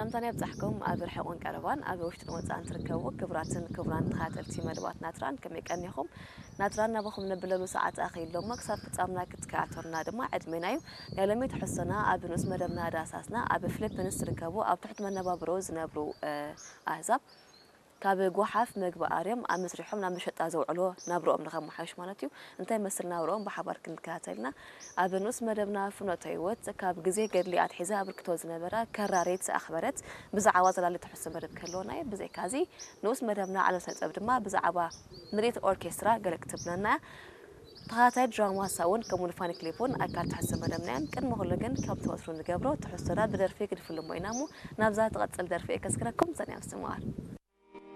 ሰላምታና ይብጻሕኩም። ኣብ ርሑቕን ቀረባን፣ ኣብ ውሽጥን ወጻእን ትርከቡ ክቡራትን ክቡራን ተኸታተልቲ መደባት ናትራን፣ ከመይ ቀኒኹም? ናትራን ናባኹም ነብለሉ ሰዓት ኣኺሉ እሞ፣ ክሳብ ፍጻምና ክትከታተሉና ድማ ዕድሜና እዩ። ናይ ሎሚ ትሕዝቶና ኣብ ንኡስ መደብና ዳህሳስና፣ ኣብ ፊሊፒንስ ዝርከቡ ኣብ ትሑት መነባብሮ ዝነብሩ፣ እ፣ ኣህዛብ ካብ ጓሓፍ መግቢ ኣርዮም ኣብ መስሪሖም ናብ መሸጣ ዘውዕሎ ናብርኦም ንኸመሓይሽ ማለት እዩ። እንታይ መስል ናብርኦም ብሓባር ክንከታተል ኢና። ኣብ ንኡስ መደብና ፍኖተ ህይወት ካብ ግዜ ገድሊ ኣትሒዛ ኣበርክቶ ዝነበራ ከራሪት ኣኽበረት ብዛዕባ ዘላሊ ትሕዝቶ መደብ ክህልወና እዩ። ብዘይካዚ ንኡስ መደብና ዓለም ስነ ጥበብ ድማ ብዛዕባ ምርኢት ኦርኬስትራ ገለ ክትብለና እያ። ተኸታታይ ድራማ ሳውን ከምኡ ንፋኒ ክሊፕ እውን ኣካል ትሕዝቶ መደብና እዮም። ቅድሚ ኩሉ ግን ከምቲ ወትሩ ንገብሮ ትሕዝቶና ብደርፊ ክንፍልሞ ኢና እሞ ናብዛ ትቐጽል ደርፊ እየ ከስክረኩም፣ ጸኒሖም ስምዓር።